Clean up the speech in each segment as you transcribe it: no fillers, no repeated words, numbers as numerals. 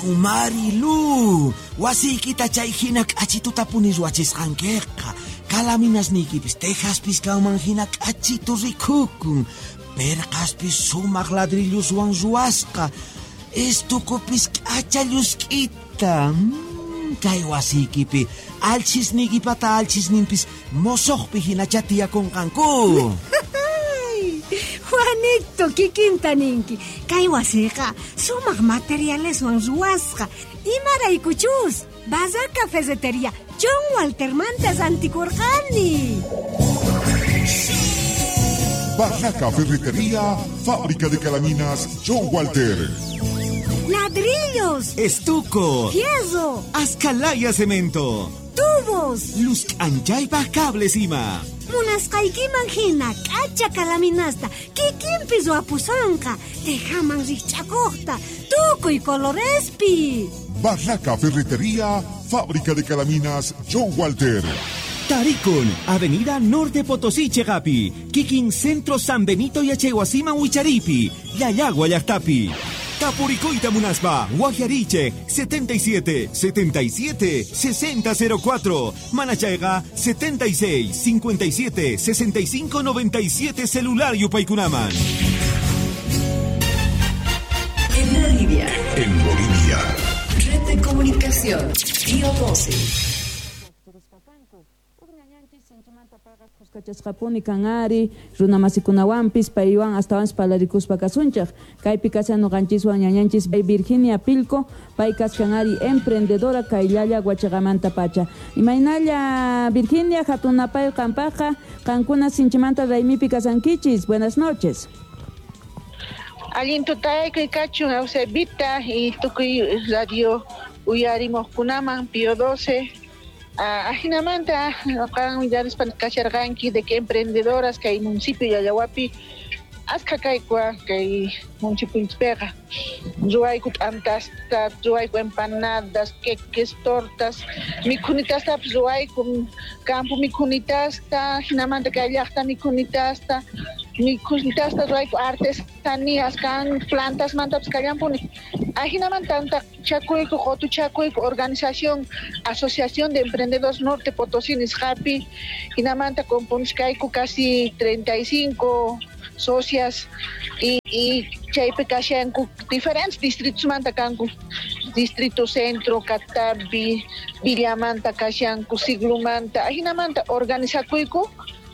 Marilu, wasiykita chay hina k'achitutapuni ruwachisqankiqa. Kalaminasniykipis tejaspis kanman hina k'achitu rikukun. Perqaspis sumaq ladrilloswan ruwasqa. Estukupis k'acha llusk'ita. Kay wasiykipi alchisniykipata alchisninpis mosoqpi hinachá tiyakunqanku. Juanito, kikinta ninki. Kay wasiqa sumaq materialeswan ruwasqa. Imaraykuchus Barraca Ferretería John Waltermanta rantikurqani. Barraca Ferretería, fábrica de calaminas John Walter. Ladrillos, Estuco, fierro, Ascalaya cemento, tubos, luz k'anchaypaq cables ima. Munasqaykiman hina k'acha kalaminasta kikinpi ruwapusanqa, tejaman rikch'akuqta, tukuy colorespi. Barraca Ferretería, fábrica de calaminas John Walter. Tarikun, Avenida Norte Potosí Chegapi, Kikin Centro San Benito Yachaywasiman Wicharipi, Llallagua llaqtapi. Tapurikuyta munaspa, Guajariche, 77 77 6004, Manachayqa 76 57 65 97 celular yupaykunaman. En Bolivia. En Bolivia. Red de Comunicación, Pío 12. Kachasqapuni kanari runamasikunawanpis paywan astawanpas parlarikuspa kasunchik kaypi kashan ñuqanchiswan ñañanchis Virginia Pilco pay kashan ari emprendedora kay Llallagua pacha imaynalla Virginia hatunapay qampaqqa qankuna sinchimanta raymipi kasankichis. Buenas noches. Allin tutaykuy kachun Eusebita y tukuy radio uyarimuqkunaman Pío 12. Ajinamanta qan willarispa kasharqanki de que emprendedoras kay municipio Llallawapi askha kaykua kay municipiopiqa ruwayku t'antasta, ruwayku empanadas, queques, tortas, mikhunitastapis ruwayku, campo mikhunitasta, jinamanta kay llaqta mikhunitasta, mikhunitasta ruwayku artesanías kan plantasmantapis kallanpuni. Ajinamanta tantachakuyku, qutuchakuyku organización Asociación de Emprendedores Norte Potosí nisqapi, jinamanta componishkayku casi 35 socias y chaypi kashanku diferentes distritos manta kanku, distrito centro, Catavi, Villamanta kashanku, Siglumanta, ajinamanta organizakuyku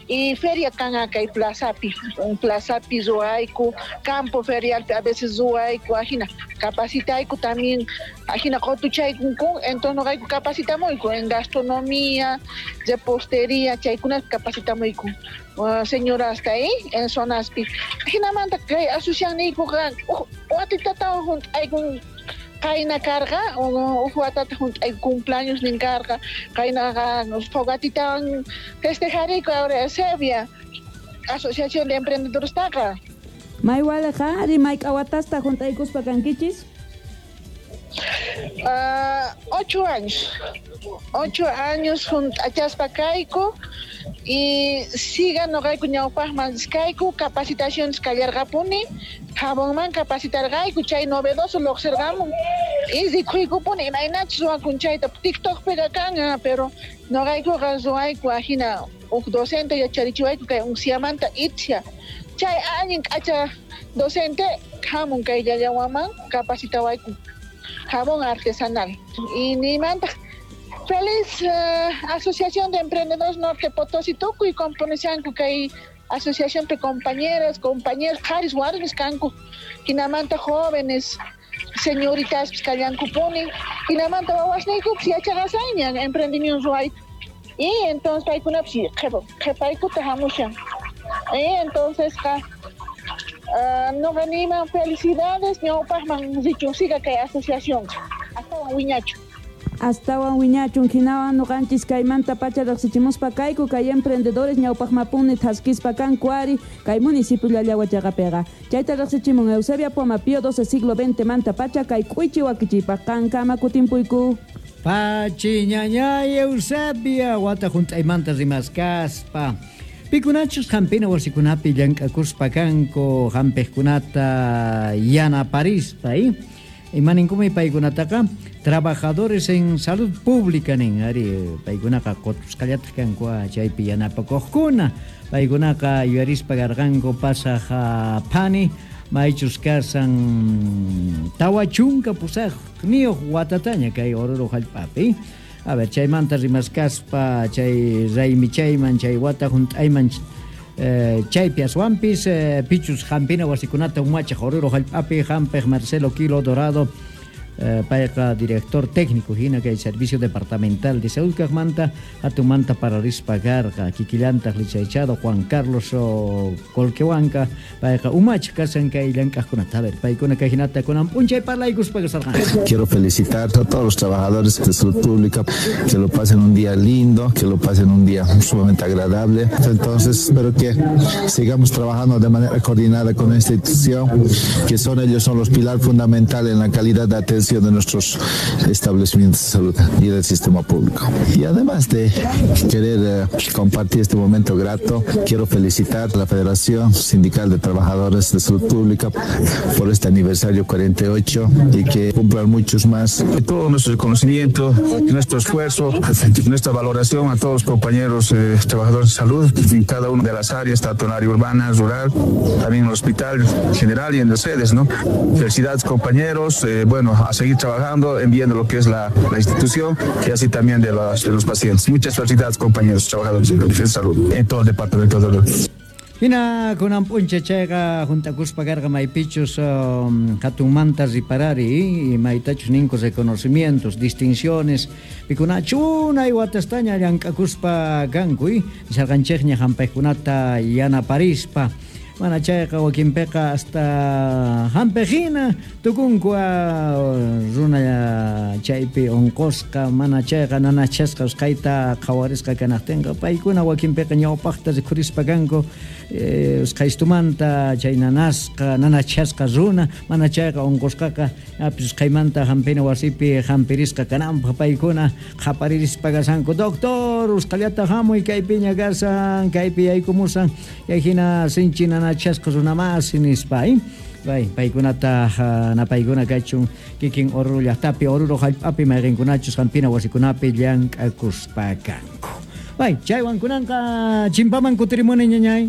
y feria kan kay plazapi, un plazapi ruwayku, campo ferial a veces ruwayku, ajina capacitayku también, ajina qutuchayku entonces noqayku capacitamuyku en gastronomía, repostería, chaykunata capacitamuyku. Señora hasta ahí en zonaspi. Ajinamanta kay asociacionniykuqa watitatawan junt'aykun qayna karqa, uj watata junt'ayku cumpleaños nin karqa, qaynaqa fogatitawan festejariyku ahora Eusebia, Asociación de Emprendedores taqa. Maywaliqa ari mayk'awatasta junt'aykuspa kankichis? 8 años. 8 años junt'achaspa kayku y sigan noqayku ñawpaqman kayku capacitaciones kallarqapuni, jabonman capacitarqayku chay novedoso lluqsirqamun y rikuykupuni imaynachus ruwakun chayta TikTokpiqa kan, pero noqaykuqa ruwayku ajina uj docente yacharichiwayku kay unciamanta Itzia chay allin k'acha docente hamun kay Llallawaman capacitawayku jabón artesanal y nimantaq feliz Asociación de Emprendedores Norte Potosí tukuy componishanku kay asociación de compañeras, compañeros, qharis warmis kanku, hinamanta jóvenes, señoritas kallankupuni, hinamanta wawasniykupis yachaqasayñan emprendimiento ruwayta. Y entonces paykunapis qhipaykuta hamushan. Y entonces noqa niyman felicidades ñawpaqman richun siga kay asociación astawan wiñachun. Astawan wiñachun hinawan ñuqanchis kaymanta pacha riqsichimuspa kayku kay emprendedores ñawpaqmapuni thaskispa kanku ari kay municipio Llallagua chaqapiqa. Chayta riqsichimun Eusebia Poma Pío 12 siglo XX manta pacha kay k'uychi wakichiypaq qankama kutimpuyku. Pachi ñañay Eusebia wata junt'aymanta rimaskaspa. Pikunachus hampina wasikunapi llank'akuspa kanku hampiqkunata yanaparispa, Imaninkumi paykunataqa trabajadores en salud pública nin ari paykunaqa qotusqallataq kanku chaypi yanapakuqkuna paykunaqa yuyarispa karqanku pasaq phani maychus kasan 48 watataña kay Oruro hallp'api. A ver, chaymanta rimaskaspa chay raymichayman chay wata hunt'ayman chaypi aswanpis pichus hampina wasikunata umachaq Oruro hallp'api hampiq Marcelo Quilo Dorado payqa director técnico hina kay Servicio Departamental de Salud kaqmanta hatunmanta pararispa karqa kikillantaq licenciado Juan Carlos Colquehuanca payqa umachaq kasan kay llank'aqkunata. A ver, paykuna kay hinata kunan p'unchay parlaykuspa kasarqanku. Quiero felicitar a todos los trabajadores de salud pública, que lo pasen un día lindo, que lo pasen un día sumamente agradable. Entonces espero que sigamos trabajando de manera coordinada con esta institución, que son ellos son los pilar fundamental en la calidad de atención de nuestros establecimientos de salud y del sistema público. Y además de querer compartir este momento grato, quiero felicitar a la Federación Sindical de Trabajadores de Salud Pública por este aniversario 48 y que cumplan muchos más. Todo nuestro conocimiento, nuestro esfuerzo, nuestra valoración a todos los compañeros trabajadores de salud en cada una de las áreas, tanto en área urbana, rural, también en el hospital general y en las sedes, ¿no? Felicidades, compañeros, bueno, a seguir trabajando, enviando lo que es la institución y así también de los pacientes. Muchas felicidades, compañeros trabajadores de salud en todo el departamento de salud. Hina kunan p'uncha chayqa juntakuspa karqa maypichus hatunmanta riparari maytachus ninku reconocimientos, distinciones pikunachu unay watastaña llank'akuspa kanku nisharqanchikña hampaykunata yanaparispa. Mana chayqa wakinpiqa hasta hampijina tukunku runa chaypi unqusqa mana chayqa nanachasqa usqhayta qhawarisqa kanaqtinqa paykuna wakinpiqa ñawpaqta rikhurispa kanku usqhaystumanta chay nanasqa nanachasqa runa mana chayqa unqusqaqa apis usqhaymanta hampina wasipi hampirisqa kananpaq paykuna qhaparirispa kasanku doctor usqhallata hamuy kaypiña kasan kaypi yaykumusan chayhina sinchi nanachasqa runa masi nispa Bay, paykunata napaykuna kachun kikin Oruro llaqtapi Oruro hallp'api mayqinkunachus hampina wasikunapi llank'akuspa kanku. Bay, chaywan kunanqa chimpaman kutirimuni ñañay.